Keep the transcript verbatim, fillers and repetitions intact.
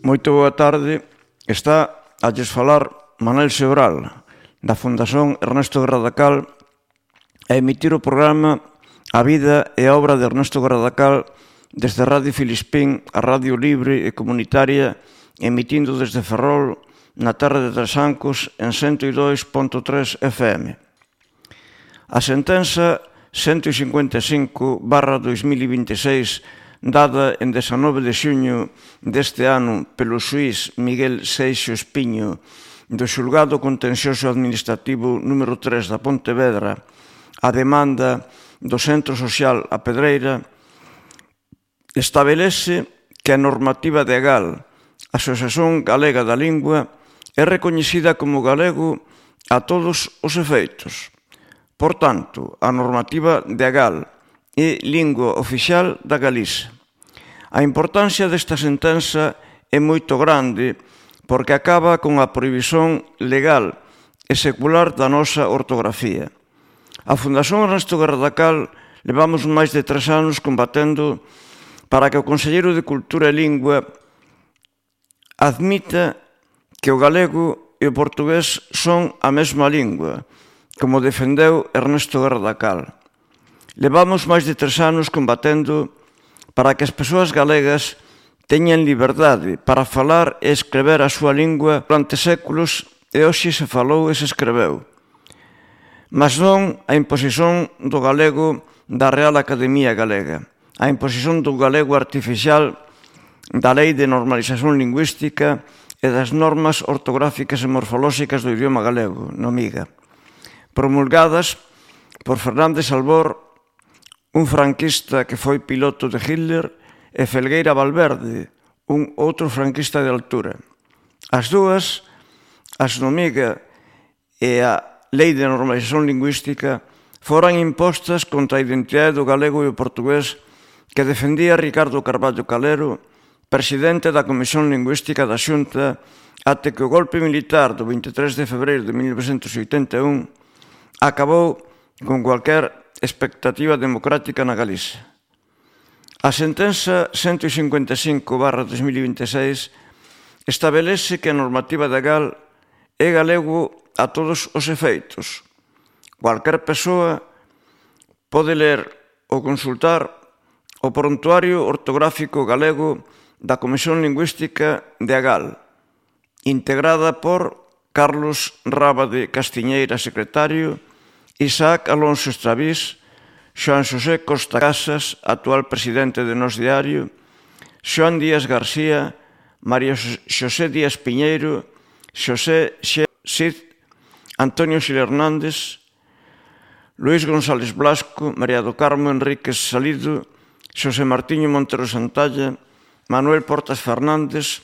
Moito boa tarde. Está a lles falar Manuel Sebral, da Fundación Ernesto Gradacal, a emitir o programa A vida e a obra de Ernesto Gradacal desde Radio Filispín, a Radio Libre e Comunitaria, emitindo desde Ferrol, na terra de Trasancos, en ciento dos punto tres F M. A sentenza ciento cincuenta e cinco barra dos mil e vinte e seis, dada en dezanove de xuño deste ano pelo xuíz Miguel Seixo Espiño do Xulgado Contencioso Administrativo número tres da Pontevedra, a demanda do Centro Social A Pedreira, establece que a normativa de AGAL, Asociación Galega da Lingua, é recoñecida como galego a todos os efeitos. Por tanto, a normativa de AGAL é lingua oficial da Galiza. A importancia desta sentenza é moito grande porque acaba con a prohibición legal e secular da nosa ortografía. A Fundación Ernesto Gradacal levamos máis de tres anos combatendo para que o Conselleiro de Cultura e Lingua admita que o galego e o portugués son a mesma lingua, como defendeu Ernesto Gradacal. Levamos máis de tres anos combatendo para que as persoas galegas teñan liberdade para falar e escrever a súa lingua durante séculos e hoxe se falou e se escreveu. Mas non a imposición do galego da Real Academia Galega, a imposición do galego artificial da Lei de Normalización Lingüística e das normas ortográficas e morfolóxicas do idioma galego, no MIGA, promulgadas por Fernández Albor, un franquista que foi piloto de Hitler, e Felgueira Valverde, un outro franquista de altura. As dúas, as no MIGA e a Lei de Normalización Lingüística, foran impostas contra a identidade do galego e o portugués que defendía Ricardo Carballo Calero, presidente da Comisión Lingüística da Xunta, até que o golpe militar do vinte e tres de febreiro de mil novecentos e oitenta e un acabou con cualquier expectativa democrática na Galiza. A sentenza ciento cincuenta e cinco barra dos mil e vinte e seis establece que a normativa de AGAL é galego a todos os efeitos. Cualquier persoa pode ler ou consultar o prontuario ortográfico galego da Comisión Lingüística de AGAL, integrada por Carlos Rábade Castiñeira, secretario, Isaac Alonso Estravís, Xoan Xosé Costa Casas, actual presidente de Nós Diario, Xoan Díaz García, María Xosé Díaz Piñeiro, Xosé Cid, Antonio Xil Hernández, Luís González Blasco, María do Carmo Enríquez Salido, Xosé Martiño Montero Santalla, Manuel Portas Fernández,